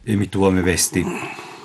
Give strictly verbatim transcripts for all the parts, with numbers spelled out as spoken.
Емитуваме вести.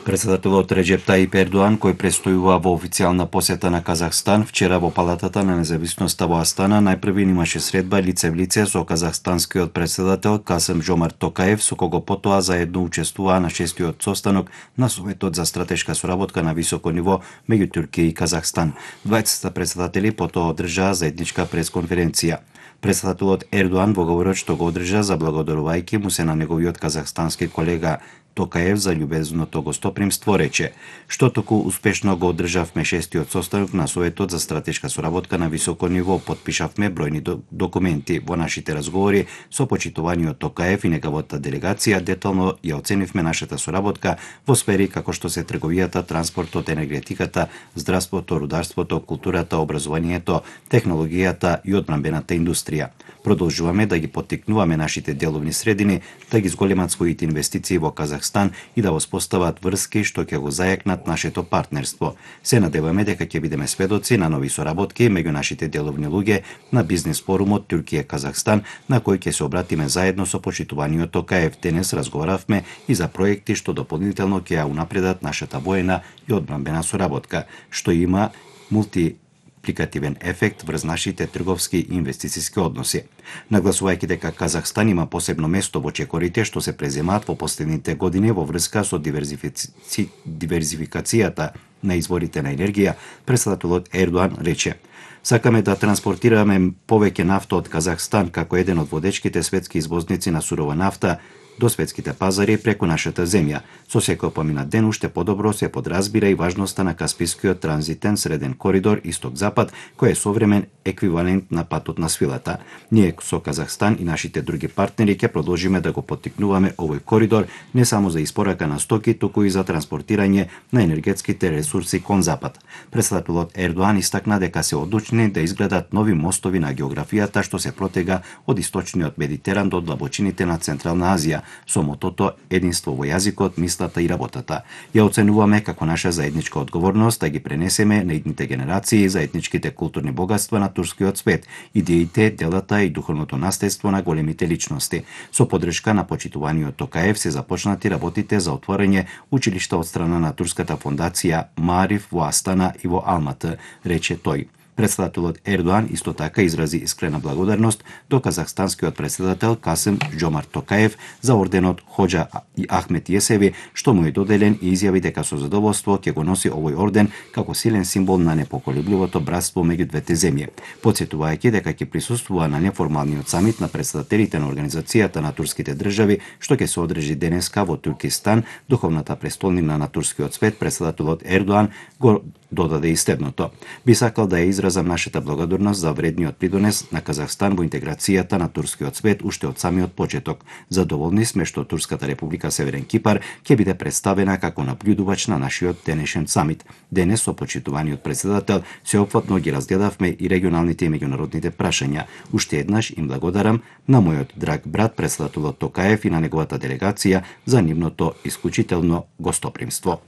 Председателот Реджеп Таип Ердоан, кој престојува во официјална посета на Казахстан, вчера во Палатата на независноста во Астана најпрви имаше средба лице в лице со казахстанскиот председател Касим Жомарт Токаев, со кого потоа заедно учествуваа на шестиот состанок на Советот за стратешка соработка на високо ниво меѓу Туркија и Казахстан. Двајцата председатели потоа одржаа заедничка пресконференција. Председателот Ердоан во говорот што го одржа заблагодарувајќи му се на неговиот казахстански колега Токаев за љубезното гостопримство рече: "Што току успешно го одржавме шестиот состанок на Советот за стратешка соработка на високо ниво, потпишавме бројни документи. Во нашите разговори со почитуваниот Токаев и неговата делегација детално ја оценивме нашата соработка во сфери како што се трговијата, транспортот, енергетиката, здравството, рударството, културата, образованието, технологијата и одбранбената индустрија. Продолжуваме да ги поттикнуваме нашите деловни средини да ги зголемат своите инвестиции во Казахстан и да воспостават врски што ќе го зајакнат нашето партнерство. Се надеваме дека ќе бидеме сведоци на нови соработки меѓу нашите деловни луѓе на бизнес форумот Туркија-Казахстан, на кој ќе се обратиме заедно со почитуваниот Токаев. Денес разговаравме и за проекти што дополнително ќе ја унапредат нашата воена и одбранбена соработка, што има мулти апликативен ефект врз нашите трговски и инвестициски односи. Нагласувајќи дека Казахстан има посебно место во чекорите што се преземаат во последните години во врска со диверзифици... диверзификацијата на изворите на енергија, председателот Ердоан рече: "Сакаме да транспортираме повеќе нафта од Казахстан како еден од водечките светски извозници на сурова нафта до светските пазари преку нашата земја. Со секој поминат ден уште подобро се подразбира и важноста на Каспискиот транзитен среден коридор исток-запад, кој е современ еквивалент на патот на свилата. Ние со Казахстан и нашите други партнери ќе продолжиме да го поттикнуваме овој коридор не само за испорака на стоки, туку и за транспортирање на енергетските ресурси кон запад." Председателот Ердоан истакна дека се одлучни да изградат нови мостови на географијата што се протега од источниот Медитеран до длабочините на Централна Азија, со мотото единство во јазикот, мислата и работата. Ја оценуваме како наша заедничка одговорност да ги пренесеме на идните генерации заедничките културни богатства на турскиот свет, идеите, делата и духовното наследство на големите личности. Со поддршка на почитуваниот Токаев се започнати работите за отворање училишта од страна на турската фондација Маариф во Астана и во Алматы, рече тој. Председателот Ердоан исто така изрази искрена благодарност до казахстанскиот председател Касим Жомарт Токаев за орденот Хоџа и Ахмет Јесеви, што му е доделен, и изјави дека со задоволство ќе го носи овој орден како силен символ на непоколебливото братство меѓу двете земји. Потсетувајќи дека ќе присуствува на неформалниот самит на председателите на Организацијата на турските држави, што ќе се одржи денеска во Туркистан, духовната престолнина на турскиот свет, председателот Ердоан го додаде и следното: "Би сакал да ја изразам нашата благодарност за вредниот придонес на Казахстан во интеграцијата на турскиот свет уште од самиот почеток. Задоволни сме што Турската република Северен Кипар ќе биде представена како наблюдувач на нашиот денешен самит. Денес со почитуваниот председател сеопфатно ги разгледавме и регионалните и меѓународните прашања. Уште еднаш им благодарам на мојот драг брат председателот Токаев и на неговата делегација за нивното исклучително гостопримство."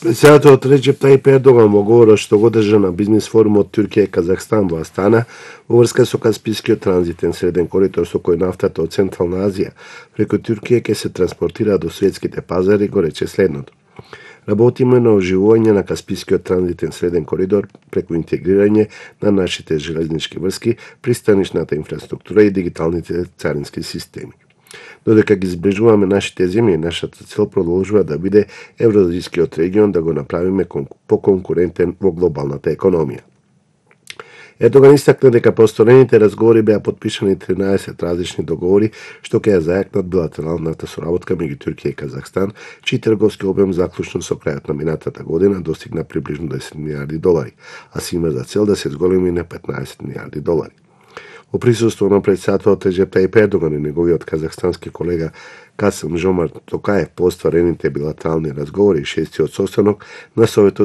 Председателот Реджеп Таип Ердоан во говорот што го одржа на бизнес форумот Туркија и Казахстан во Астана во врска со Каспискиот транзитен среден коридор со кој нафтата од Централна Азија преку Туркија ќе се транспортира до светските пазари, го рече следното: "Работиме на оживување на Каспискиот транзитен среден коридор преку интегрирање на нашите железнички врски, пристанишната инфраструктура и дигиталните царински системи. Додека ги зближуваме нашите земји, нашата цел продолжува да биде евроазијскиот регион да го направиме поконкурентен во глобалната економија." Ердоган истакна дека по осторените разговори беа потпишани тринаесет различни договори што ќе ја зајакнат билатералната соработка меѓу Туркија и Казахстан, чиј трговски обем заклучно со крајот на минатата година достигна приближно десет милијарди долари, а се има за цел да се зголеми на петнаесет милијарди долари. Во присуство на председателот Реджеп Таип Ердоган и неговиот казахстански колега Касим Жомарт Токаев по остварените билатерални разговори и шестиот состанок на Советот